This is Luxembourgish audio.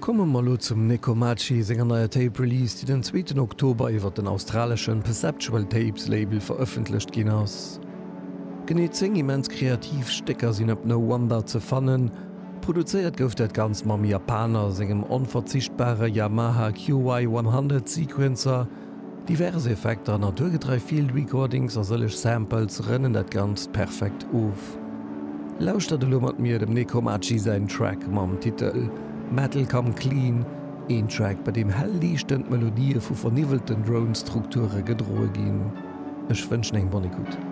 Komme mer elo zum Nekomachi senger neier Tape Release, déi den zweeten Oktober iwwer den australeschen Perceptual Tapes Label verëffentlecht ginn ass. Genee 10 immens kreativ Stécker sinn op No Wonder ze fannen. Produzéiert gouf dat Ganzt mam Japaner sengem onverzichtbare Yamaha QY 100 Sequencer. Divers Effekter, naturgetrei Field Recordings a sëlleg Samples rënnen dat Ganzt perfekt of. Lauschtert elo mat mir dem Nekomachi säin Track mam Titel Metal Come Clean, een Track bei deem hell liichtend Melodië vu verniwwelten Drone-Strukture gedroe ginn. Ech wënschen eng bonne écoute.